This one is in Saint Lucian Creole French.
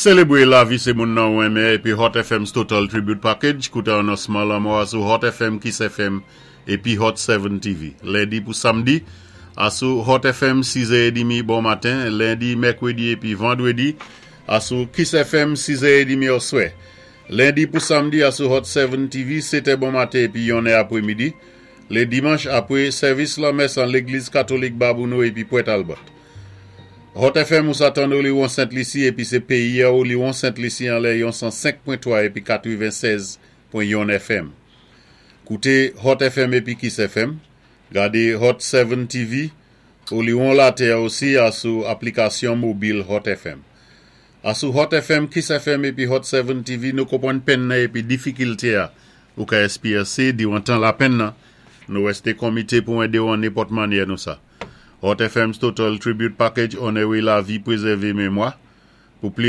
Sélébwé lavi sé moun nan ou renmen épi Hot FM's Total Tribute Package. Kouté anonsman lanmò a sou Hot FM, Kiss FM épi Hot 7 TV. Lendi pou samdi, a sou Hot FM 6h30 bon maten, lendi, mèkwédi épi vandwédi, a sou Kiss FM 6h30 oswè. Lendi pou samdi a sou Hot 7 TV 7 bon maten épi 1 apwémidi. Lé dimanch apwé sèvis lanmès an Légliz Katolik Babonneau épi Port Albert. Hot FM ou sa tann li won Sent Lisi épi sé péyi ou li won Sent Lisi anlè yon 105.3 épi 96.1 FM. Kouté Hot FM épi Kiss FM. Gadé Hot 7 TV ou li won latè osi a sou aplikasyon mobil Hot FM. A sou Hot FM, Kiss FM épi Hot 7 TV nou konpwann penn nan épi difikilté a ou ka èspéyansé diwan tan lapenn nan. Nou wèsté komité pou édé ou an nenpòt mannyè nou sa. Hot FM's Total Tribute Package onéré lavi, pwézèvé mémwa. Pou pli